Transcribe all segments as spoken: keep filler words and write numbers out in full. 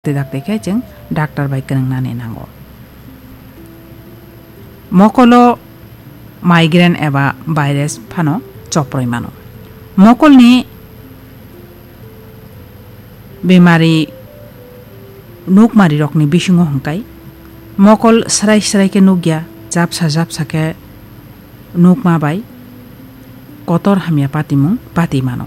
dakti dakti khe chwng doctor bai kwrwngnani nango. Mokolo migraine eba virus phano choproi mano. Mokolni bemari nukmarirokni bisingo hwnkhe mokol srai srai khe nukya, japsa japsa khe nukma bai kotor hamya patimung pati mano.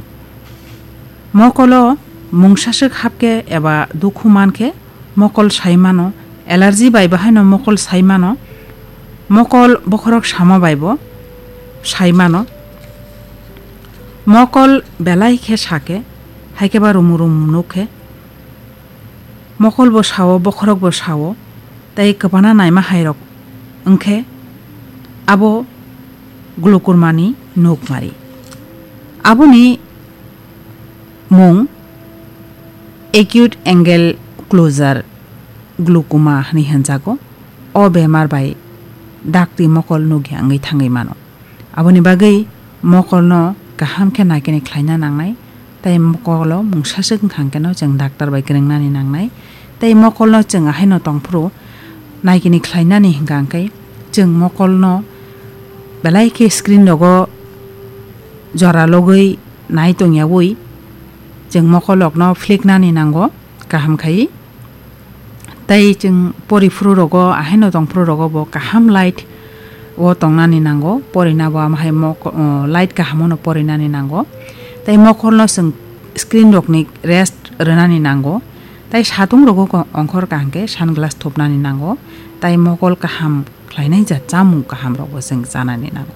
Mokolo mungsaswk hapkhe eba dukhu mankhe mokol sai mano, allergy bai bahaino mokol sai mano, mokol bokhorok sama bai bo sai mano. Mokol belai khe sakhe, haikhe ba rumu rumu nukhe, mokol bo sao, bokhorok bo sao, tei kwbana naima hairok wngkhe abo glaucoma ni nukmari. Aboni mung acute angle closure glaucoma hinwi hwnjago. O bemar bai dakti mokol nukya wngwi thangwi mano. Aboni bagwi mokolno kaham khe naikini khlaina nangnai, tei mokolo mungsaswk wngkha hwnkhe no chwng doctor bai kwrwngnani nangnai. Tei mokolno chwng ahaino tongphuru naikini khlainani hwnkha hwnkhe chwng mokolno belai khe screen rogo jora logwi nai tongyaui chwng mokolokno phliknani nango kaham khai. Tei chwng pori phuru rogo, ahaino tong phuru rogo bo kaham light o tongnani nango, porina bo ama hai mo-, o, light kaham ono porinani nango. Tei mokolno chwng screen rokni rest rwnani nango. Tei satung rogo ko-, ongkhor kaham khe sunglass thupnani nango. Tei mokol kaham khlainai ja chamung kaham rokbo chwng chanani nango.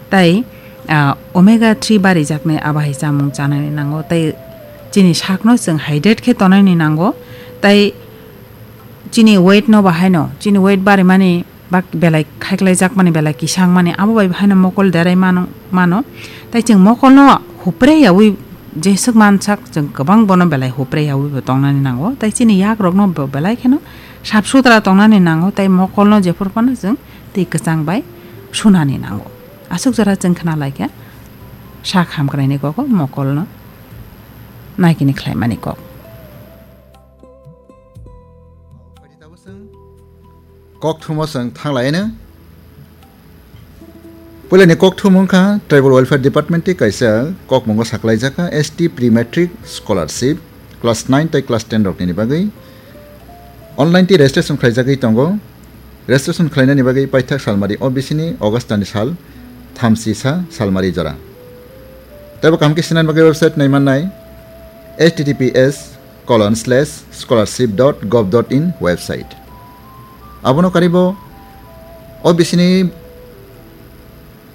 Tei, ah, omega three barijaknai abo hai chamung chanani nango. Tei chini sakno chwng hydrate khe tonani nango. Tei chini weight no bahaino, chini weight barimani bak belai khaiklaijakmani, belai kisangmani, abo bai bahaino mokol derai mano, mano. Tei chwng mokolno hupre yaui jeswk mansak, chwng kwbang bono belai hupre yaui bo tongnani nango. Tei chini yak rokno bo belai kheno sap sutra tongnani nango. Tei mokolno jephuru phano chwng twi kwchang bai sunani nango. Aswk jora chwng khna lai khe sak hamkraini kogo mokolno naikini khlaimani kok. Kok thumo chwng thang lai no. Puilani kok thumung kha Tribal Welfare Department tei kaisa kok mungo saklaijak kha S T Pre-Matric Scholarship class nine tei class ten rokni bagwi online tei registration khlaijagwi tongo. Registration khlainani bagwi paithak salmari O B C ni August ni sal thamsi sa salmari jora. Teibo kaham khe sinani bagwi website naimannai H T T P S colon slash scholarship dot gov dot in website. Abono karibo O B C ni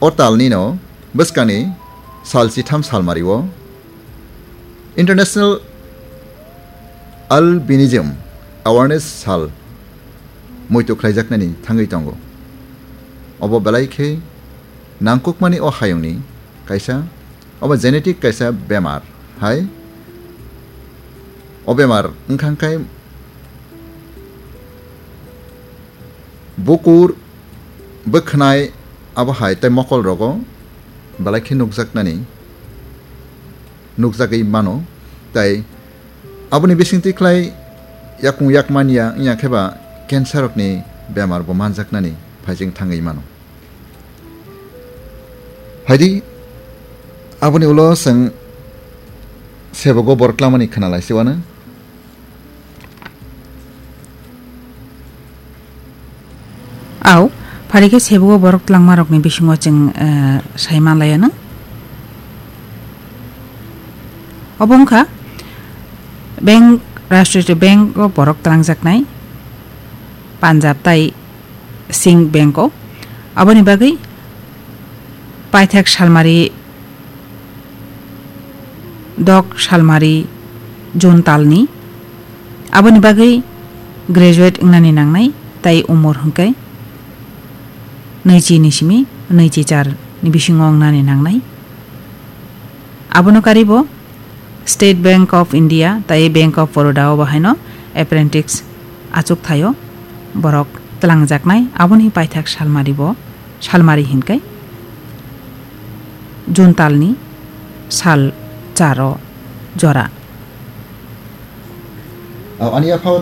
o talni no bwskangni sal chitham salmari o International Albinism Awareness Sal muitu khlaijaknani thangwi tongo. Obo belai khe nangkukmani o hayungni kaisa, obo genetic kaisa bemar hai. O bemar wngkha khe bukur, bwkhwnai, abo hai tei mokol rogo belai khe nukjaknani, nukjagwi mano, tei aboni bisingtwi khlai yakung yak manya wngya khe ba cancer rokni bemar bo manjaknani phaijing thangwi mano. Phaidi, aboni ulo chwng sebogo borok tlamani khna lai se uanw. Au, phari khe sebogo borok tlangmarokni bisingo chwng, eh, sai manlaianw. Obo wngkha Bank, Rashtriya Bank o borok tlangjaknai, Punjab tai Singh Bank o. Aboni bagwi paithak salmari dok salmari June talni. Aboni bagwi graduate wngnani nangnai, tai umor hwnkhe nwichi ni simi nwichi char ni bisingo wngnani nangnai. Abono karibo State Bank of India tai Bank of Baroda o bahaino apprentice achuk thaio borok twlangjaknai, aboni paithak salmari bo, salmari hinkai June talni sal charo jora. Ani yaphao